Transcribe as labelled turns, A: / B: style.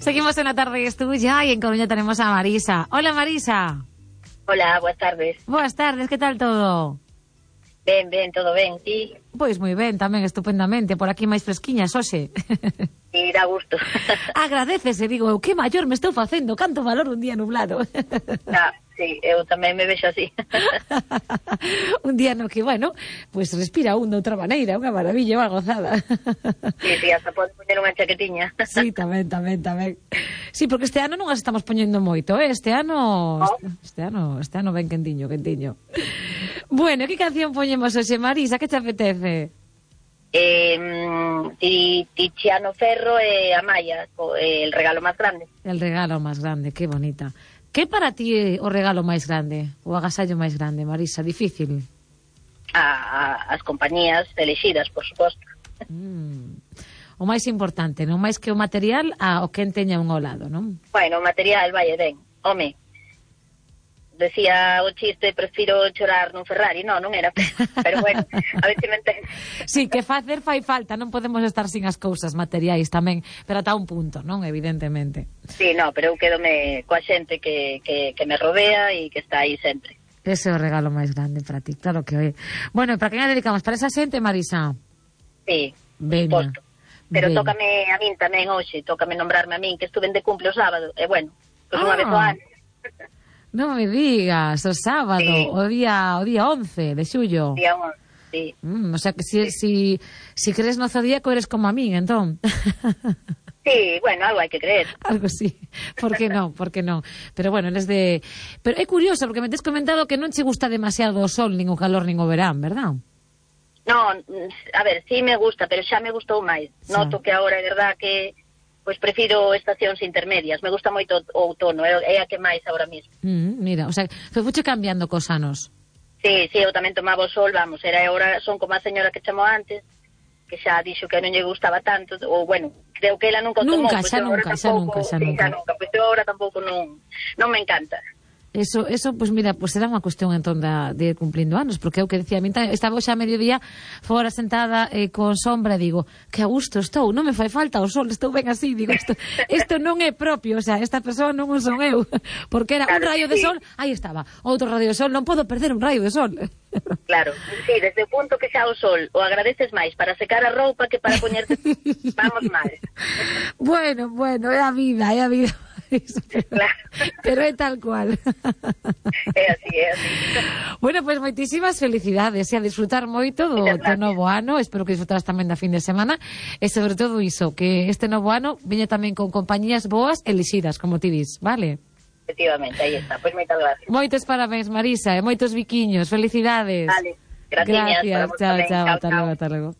A: Seguimos en La Tarde es Tuya y en Coruña tenemos a Marisa. Hola, Marisa.
B: Hola, buenas tardes.
A: Buenas tardes, que tal todo?
B: Ben, todo ben, ti?
A: Pois moi ben, tamén estupendamente. Por aquí máis fresquiñas, hoxe.
B: Sí, dá gusto.
A: Agradecese, digo, eu, que maior me estou facendo, canto valor un día nublado.
B: Sí, eu tamén me vexo así.
A: Un día no que, bueno, pues respira un de outra maneira, unha maravilla, unha gozada.
B: Sí, hasta pode poñer unha chaquetiña.
A: Sí, tamén. Sí, porque este ano non as estamos poñendo moito, Este ano ben quentiño. Bueno, que canción poñemos hoxe, Marisa? Que te apetece?
B: Tiziano Ferro e Amaya, El regalo máis grande.
A: El regalo máis grande, que bonita. Que para ti é o regalo máis grande? O agasallo máis grande, Marisa? Difícil?
B: As compañías elexidas, por suposto.
A: O máis importante, non máis que o material, o que teña un ao lado, non?
B: Bueno, o material, vai e ben. Home, decía o chiste, prefiro chorar nun Ferrari. Non era, pero bueno, a ver se me entende.
A: Sí, que facer fai falta, non podemos estar sin as cousas materiais tamén, pero ata un punto, non? Evidentemente.
B: Sí, no, pero eu quedome coa xente que me rodea e que está aí sempre.
A: Ese é o regalo máis grande para ti, claro que é. Bueno, e para quen a dedicamos? Para esa xente, Marisa?
B: Sí,
A: Veña.
B: Pero tócame a min tamén hoxe, tócame nombrarme a min, que estuve de cumple o sábado, e bueno, pois unha vez o ano.
A: Non me digas, o sábado, sí. o día 11 de xullo.
B: Día 11, sí.
A: O sea que si crees no zodíaco eres como a min, entón.
B: Sí, bueno, algo hai que creer.
A: Algo sí, por que non? Pero bueno, eres de... Pero é curioso, porque me tes comentado que non che gusta demasiado o sol, nin o calor, nin o verán, verdad?
B: Non, a ver, sí me gusta, pero xa me gustou máis. Sí. Noto que agora é verdad que pois prefiro estacións intermedias. Me gusta moito o outono, é a que máis agora mesmo.
A: Mira, o sea, fuche cambiando cos anos.
B: Sí, eu tamén tomaba o sol, vamos, agora son como a señora que chamou antes, que xa dixo que non lle gustaba tanto, ou bueno, creo que ela nunca o tomou.
A: Nunca.
B: Pois eu agora tampouco non me encanta.
A: Eso, pues mira, pues será unha cuestión entón de ir cumplindo anos, porque eu que decía, estaba xa a mediodía fora sentada con sombra, digo, que a gusto estou, non me fai falta o sol, estou ben así, digo, isto non é propio, o sea, esta persoa non o son eu, porque era claro, un rayo de sol, aí estaba, outro rayo de sol, non podo perder un rayo de sol.
B: Claro, sí, desde o punto que xa o sol o agradeces máis para secar a roupa que para poñerte, vamos mal.
A: Bueno, é a vida.
B: Claro.
A: Pero é tal cual.
B: É así.
A: Bueno, pues moitísimas felicidades e a disfrutar moito do novo ano. Espero que disfrutaras tamén da fin de semana e sobre todo iso, que este novo ano veña tamén con compañías boas elixidas, como ti dis, vale?
B: Efectivamente, aí está. Pois moitas gracias.
A: Moitos parabéns, Marisa, e moitos biquiños. Felicidades.
B: Vale, gracias.
A: Chao. Hasta luego.